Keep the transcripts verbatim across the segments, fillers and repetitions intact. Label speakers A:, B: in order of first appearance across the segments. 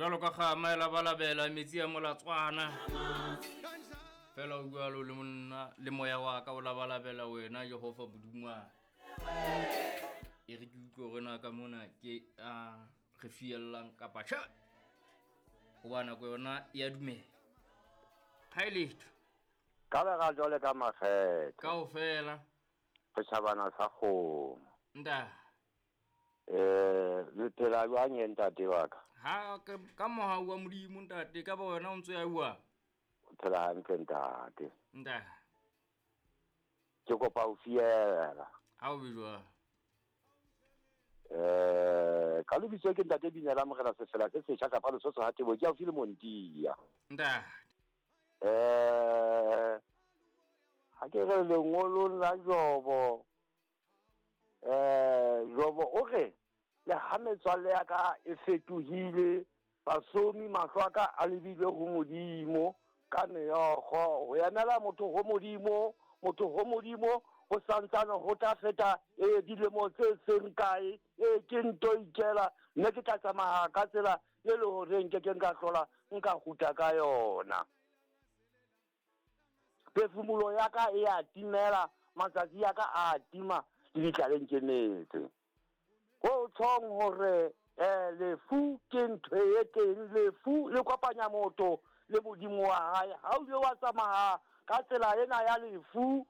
A: Jwalo ka kgama e labalabela metsi a molatswana. Fela o jwalo le monna le moya wa ka o labalabela wena Jehova Modimo wa. E re ke utlwe hore na ka mona ke a re fiellang kapa tjhe. Hoba nako yona e a dumela. Ha e letho.
B: Ka bera jwale ka makgethe.
A: Kaofela.
B: Setjhabana sa kgomo.
A: Nta.
B: Eh, le phela jwang ye ntate wa ka?
A: Ha ka mohau wa Modimo ntate, ka ba wena o ntso ya bua.
B: O phela hantle ntate.
A: Nta.
B: Ke kopa ho fiela.
A: Ha o be jwang?
B: Eh, ka lebitso ke ntate Binela Morena Sefela se setjha kapa Lesotho ha Tebo ke haufi le Montia.
A: Nta.
B: Eh, ha ke re lengolong la Jobo. Eh, Jobo o re le ha metswalle ya ka e fetohile, basomi mahlo a ka a lebile ho Modimo ka meokgo ho emela motho ho Modimo, motho ho Modimo ho santsane ho tla feta e dilemo tse seng kae, e ke nto ikela mme ke tla tsamaya ka tsela e le hore nke ke nka hlola nka kgutla ka yona. Phefumolo ya ka e a timela, matsatsi ya ka a tima le ditlaleng ke metse. Ho tshong hore eh lefu ke ntho e teng, lefu le kopanya motho le Modimo wa hae. Ha o ile wa tsamaya ka tsela ena ya lefu,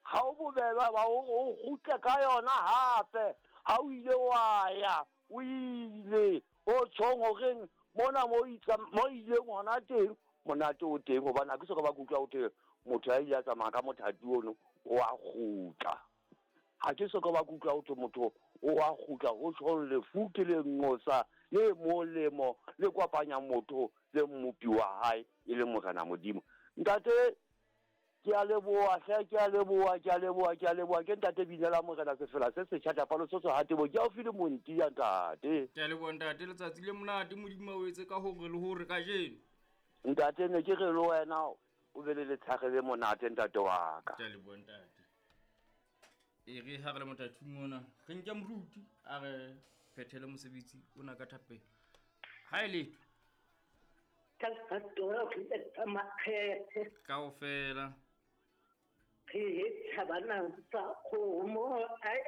B: ha o bobebe ba o kgutle ka yona hape. Ha o ile wa ya, o ile o tshong horeng mona mo mo ileng hona teng, monate o teng hobane ha ke soka ba kutlwa o teng motho ya ile a tsamaya ka mothati ono o a kgutla. Ha ke soka ba kutlwa o motho o a kgutla. Ho tshong lefu ke le nqosa le molemo le kopanya motho le mmopi wa hae e le Morena Modimo. Ntate ke a leboha hle, ke a leboha, ke a leboha, ke a leboha. Ke ntate Binela Morena Sefela se setjha kapa Lesotho ha Tebo ke haufi le Montia ntate.
A: Ke a leboha ntate, letsatsi le monate Modimo o etse ka hore le hore kajeno.
B: Ntate ne ke re le wena o be le letshare le monate ntate wa ka.
A: Ke a leboha ntate. E re ha re le mothating mona, re nke moruti a re phethele mosebetsi ona ka thapelo. Ha e letho.
C: Ka ka makgethe.
A: Kaofela.
C: Re thabana sa kgomo, ai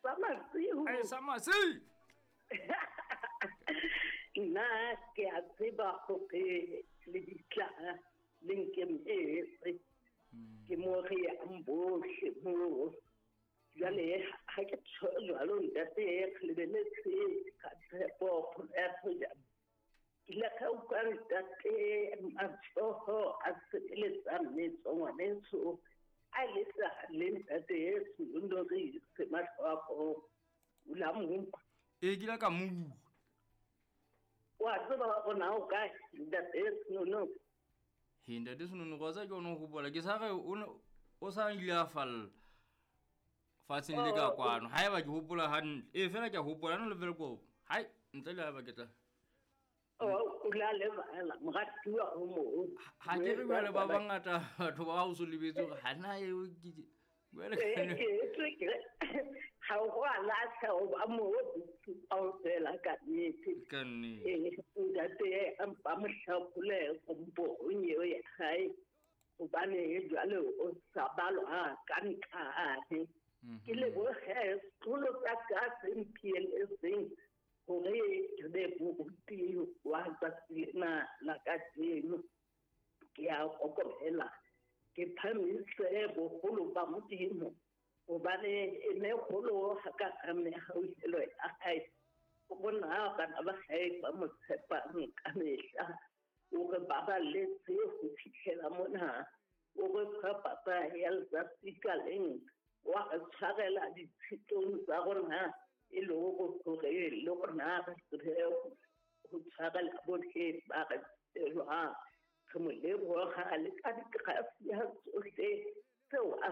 C: sa masiu.
A: Ai sa masiu.
C: Nna ke a tseba hore le ditla le nkemetse. Ke mo re yang bohle moo. Jwale ha ke tjho jwalo ntate re lebeletse ka tshepo ya hoja. Ke ile ka utlwa ntate matsoho a sebeletsa mmetso ngwaneso a letsa le ntate Senonorise Mahloko o la mo.
A: E ke ile ka mo.
C: Wa tseba hore na o kae ntate Senono?
A: He ntate Senono go tsa ke ono hopola ke sa re o o sa ile a falla fatsheng le ka kwano. Haeba ke hopola hantle e fela ke a hopola no le Velkop. Hai ntle le haeba ke tla
C: o la lebala moratuwa o mo.
A: Ha ke re jwale ba bangata batho ba o so lebetse hore ha na eo ke jwale
C: ha o a lahla o ba mo kaofela ka nnete.
A: Ka nnete.
C: Ntate a mpa mohlakole kompong eo ya hae hobane jwale o sa balwa ka nqane. Ke lebohe sekolo sa ka se mphiletseng hore ke be moruti wa tsatsi lena la kajeno. Ke a kokobela, ke phamise boholo ba Modimo hobane e ne kgolo ha ka ka mehauhelo ya hae. O bona bana ba hae ba mo tshepang ka mehla, o re baballetse ho fihlela mona, o re fa papa ya letsatsi ka leng, wa re tshwarela ditshitong tsa rona e le hore le rona re tsebe ho tshwarela bohle ba re tshelwang. Re mo leboha le ka digrafia tsohle tseo a